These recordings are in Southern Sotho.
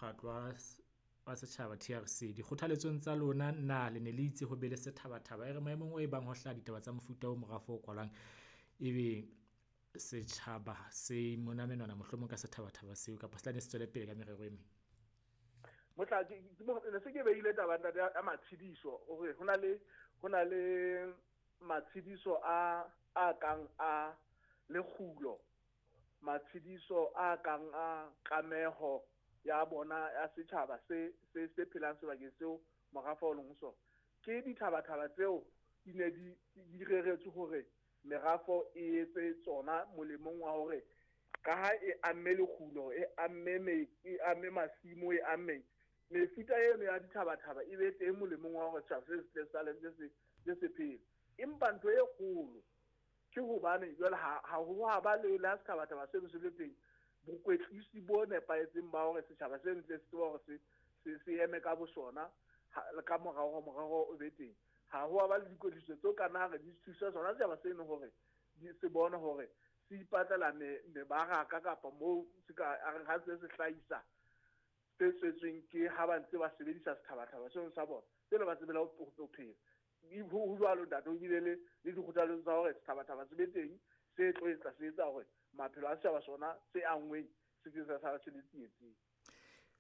mokgatlo wa setjhaba TRC, dikgothaletsong tsa lona na le ne le itse ho be le sethabathaba e re maemong o e bang ho hlaha ditaba tsa mofuta o morafo o kwalwang, ebe setjhaba se mona menwana mohlomong ka sethabathaba seo kapa se tla ne se tswele pele ka merero e meng? Motla ne se ke beile taba ntate ya matshediso hore hona le matshediso a kang a lekgulo, matshediso a kang a kameho ya bona ya setjhaba se phelang sebakeng seo morafo o leng ho sona. Ke dithabathaba tseo di ne di reretswe hore merafo e etse tsona molemong wa hore ka ha e amme lekgulo, e amme e amme masimo, e amme mefuta eno ya dithabathaba, e be teng molemong wa hore setjhaba se se sale se phele. Empa ntho e kgolo ke hobane jwale ha ho ha ba le la sethabathaba seno se le teng, bokwetlisi bo nepahetseng ba hore setjhaba se ntle se tseba hore se eme ka bosona ka morao ho morero o be teng. Ha ho ba le dikwetliso tseo ka nna re di thusa sona setjhaba seno hore se bone hore se ipatlela mebaraka kapa moo se ka a reng ha se hlahisa tse tswetsweng ke ha ba ntse ba sebedisa sethabathaba seno sa bona tseno ba tsebela ho phela. Ho jwalo ntate, ho bile le dikgothaletso tsa hore sethabathaba se be teng se tlo etsa se etsa hore maphelo a setjhaba sona se anngweng se ke sa sala se le tsietsing.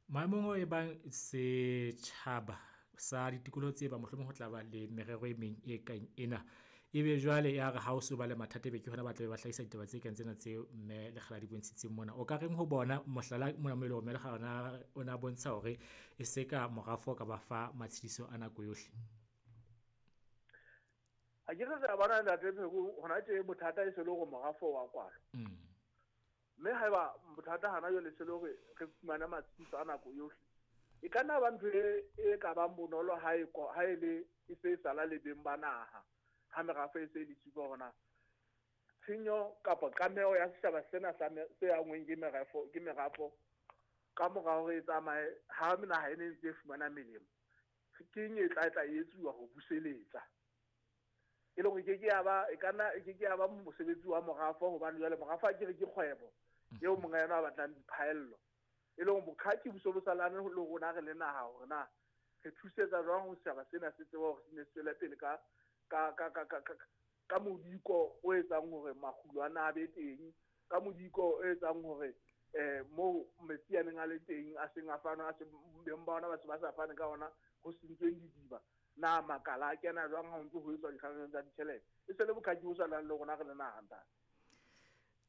Maemong o e bang setjhaba sa ditikoloho tse ba mohlomong ho tla ba le merero e meng e kang ena, ebe jwale ya re ha o so ba le mathata, ebe ke hona ba tlabe ba hlahisa ditaba tse kang tsena tseo mme Lekgala di bontshitseng mona. O ka reng ho bona? Mohlala mona mo e leng hore mme Lekgala o na bontsha hore e se ka morafo o ka ba fa matshediso a nako yohle. Ha ke re re bona ntate Pheko, hona tje bothata e se le hore morafo wa kwalwa. Mme haeba bothata hana jwale se le hore re fumane matshediso a nako yohle, e ka nna ba ntho e ka bang bonolo ha e ha e le e se e sala le beng ba naha, ha merafo e se e le siko hore na tshenyo kapa kameho ya setjhaba sena sa se anngweng ke merafo ka mora hore e tsamaye ha naha e ne ntse e fumana melemo, ke eng e tla etsuwa ho buseletsa e le hore ke ke ya ba e ka nna e ke ke ya ba mosebetsi wa morafo, hobane jwale morafo a ke re ke kgwebo eo monga yona a batlang diphaello, e leng boqhaki bo so bo salane le rona re le naha hore na re thusetsa jwang ho setjhaba sena se tseba hore se ne se tswele pele ka modiko o etsang hore makgulo a na be teng, ka modiko o etsang hore moo metsi a neng a le teng a seng a fana, a se beng ba ona ba se ba sa fane ka ona, ho sentsweng didiba, na makala a kena jwang ha ho ntso ho etswa dikgangeng tsa ditjhelete, e se le boqhaki bo salang le rona re le naha, ntate.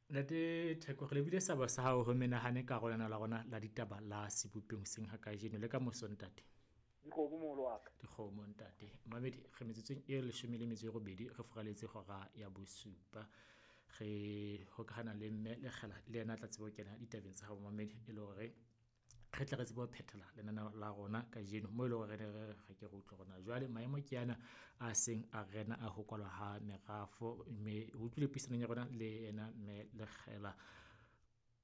Ntate Theko, re lebile sabo sa hao ho menahane karolwana la rona la ditaba la sebopeng seng ha kajeno le ka moso, ntate. Dikgomo, moholo wa ka. Dikgomo, ntate. Mamedi, re metsotsong e 18 re furaletse hora ya bosupa. Re hokahana le mme Lekgala, le yena a tla tseba ho kena ditabeng tsa hao mamedi, e le hore re tle re tsebe ho phethela lenaneo la rona kajeno mo e leng hore re ne re ke re utlwe hore na jwale maemo ke ana a seng a rena a ho kwalwa ha merafo. Mme o utlwile puisanong ya rona le yena mme Lekgela,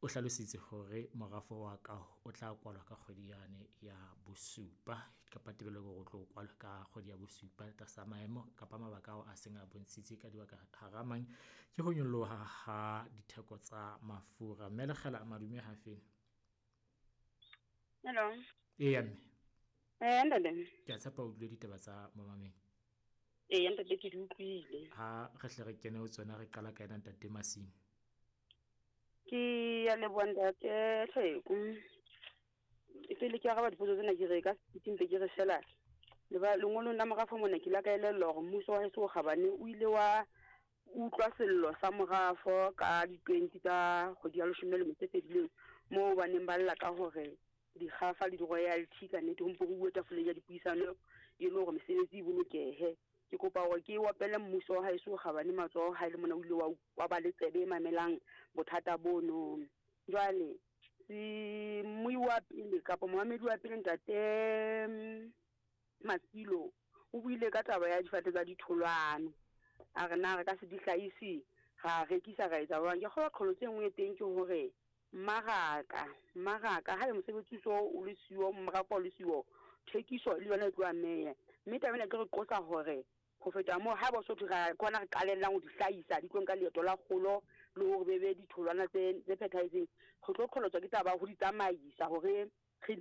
o hlalositse hore morafo wa kaho o tla kwalwa ka kgwedi yane ya bosupa, kapa tebello ke hore o tlo kwalwa ka kgwedi ya bosupa tlasa maemo kapa mabaka ao a seng a bontshitse ka dibaka hara mang ke ho nyoloha ha ditheko tsa mafura. Mme Lekgela, madume hafeng? Hello. Eya mme. Ntate. Ke a tshepa o utlwile ditaba tsa momamedi. Ee ntate, ke di utlwile. Ha re hle re kene ho tsona, re qala ka ena ntate Masimo. Ke ya leboha ntate Tlheko. Pele ke araba dipotso tsena, ke re ka sepiti mpe ke re fela leba lengolong la morafo mona, ke la ka elellwa hore mmuso wa heso o kgabane o ile wa utlwa sello sa morafo ka di-20 tsa kgwedi ya leshome le metso e fedileng, moo ba neng ba lla ka hore dikgafa le di-royalty ka nnete ho mpo ho uwe tafoleng ya dipuisano e le hore mesebetsi e bolokehe. Ke kopa hore ke opele mmuso wa haeso o kgabane matsoho ha e le mona o ile wa ba le tsebe e mamelang bothata bono. Jwale se mmui wa pele kapa momamedi wa pele, ntate Masilo, o buile ka taba ya difate tsa ditholwana, a re na re ka se di hlahise ra rekisa ra etsa jwang. Ke kgolwa qholotso e nngwe e teng ke hore mmaraka haebe mosebetsi so o le siyo, morafo o le siyo, thekiso le yona e tlo ameha. Mme taba ena e tlo re qosa hore ho feta moo, haeba o so thwe ra ke hona re qalellang ho di hlahisa, di tlo nka leeto la kgolo le hore be be ditholwana tse phethahetseng, re tlo qholotswa ke taba ya ho di tsamaisa hore re di